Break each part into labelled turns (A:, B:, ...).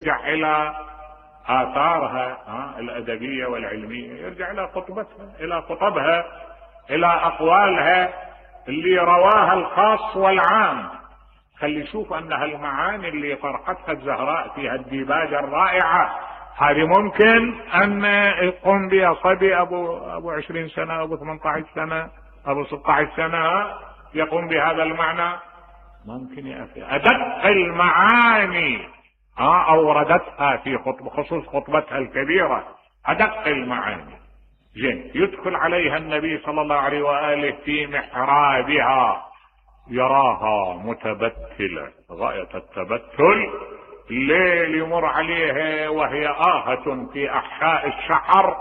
A: يرجع الى آثارها الأدبية والعلمية، يرجع إلى خطبتها، إلى خطبها، إلى أقوالها اللي رواها الخاص والعام. خلي يشوف أن هالمعاني اللي طرحتها الزهراء في هالديباجة الرائعة هذه ممكن أن يقوم بها صبي أبو 20 سنة، أبو 18 سنة، أبو 16 سنة يقوم بهذا المعنى. ممكن يا أخي أدق المعاني أوردتها في خصوص خطبتها الكبيرة، أدق المعاني. زين، يدخل عليها النبي صلى الله عليه وآله في محرابها، يراها متبتلة غاية التبتل، الليل يمر عليها وهي آهة في أحشاء الشحر،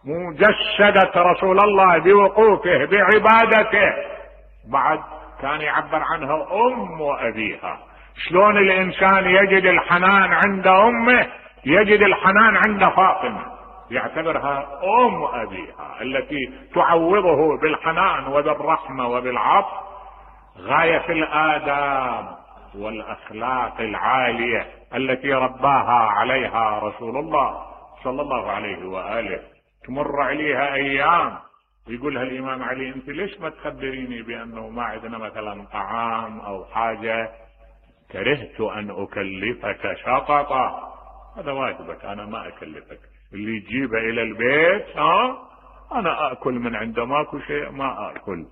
A: مجسدة رسول الله بوقوفه بعبادته. بعد كان يعبر عنها أم وأبيها. شلون الإنسان يجد الحنان عند أمه يجد الحنان عند فاطمة، يعتبرها أم أبيها التي تعوضه بالحنان وبالرحمة وبالعطف. غاية الآداب والأخلاق العالية التي رباها عليها رسول الله صلى الله عليه وآله. تمر عليها أيام يقولها الإمام علي: أنت ليش ما تخبريني بأنه ما عندنا مثلا طعام أو حاجة؟ كرهت أن أكلفك شططا. هذا واجبك، أنا ما أكلفك. اللي يجيبه إلى البيت أنا أكل من عنده، ماكو شيء ما أكل.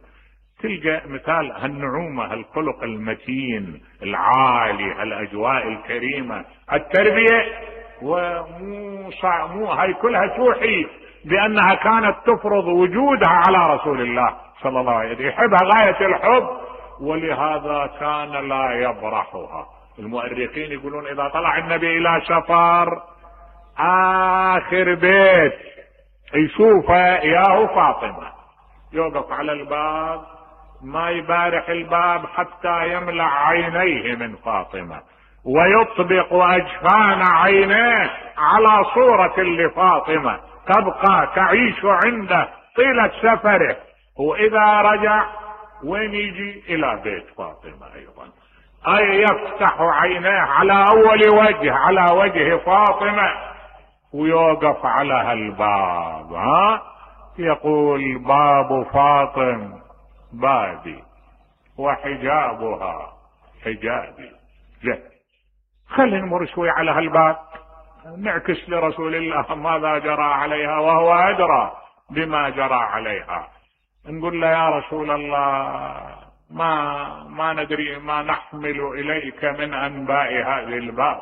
A: تلقى مثال هالنعومة، هالخلق المتين العالي، هالأجواء الكريمة، التربية. ومو هاي كلها توحي بأنها كانت تفرض وجودها على رسول الله صلى الله عليه وسلم، يحبها غاية الحب، ولهذا كان لا يبرحها. المؤرخين يقولون إذا طلع النبي إلى سفر آخر بيت يشوفه إياه فاطمة، يوقف على الباب ما يبارح الباب حتى يملأ عينيه من فاطمة، ويطبق أجفان عينيه على صورة لفاطمة تبقى تعيش عنده طيلة سفره. وإذا رجع وين يجي؟ إلى بيت فاطمة أيضا، أي يفتح عينيه على أول وجه، على وجه فاطمة، ويوقف على هالباب يقول: باب فاطم بابي وحجابها حجابي. خلينا نمر شوي على هالباب، نعكس لرسول الله ماذا جرى عليها وهو أدرى بما جرى عليها. نقول له: يا رسول الله، ما ندري ما نحمل إليك من أنباء هذه الباب،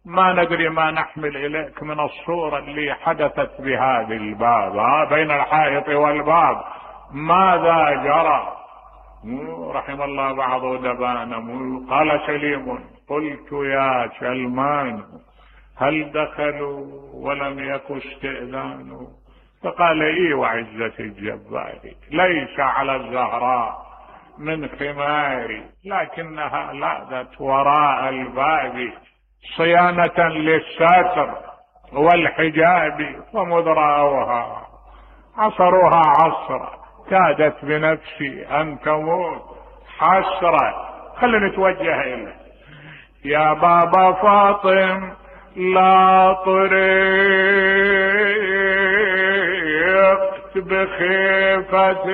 A: ما ندري ما نحمل إليك من الصورة اللي حدثت بهذه الباب بين الحائط والباب، ماذا جرى؟ رحم الله بعض دبان. قال سليم: قلت يا سلمان هل دخلوا ولم يكن استئذان؟ فقال: إي وعزة الجبار ليس على الزهراء من خماري، لكنها لاذت وراء الباب صيانة للساتر والحجاب، ومذ رأوها عصروها عصرا كادت بنفسي أن تموت حسرة. خلينا نتوجه إليه: يا بابا فاطم لا طرقت بخيفة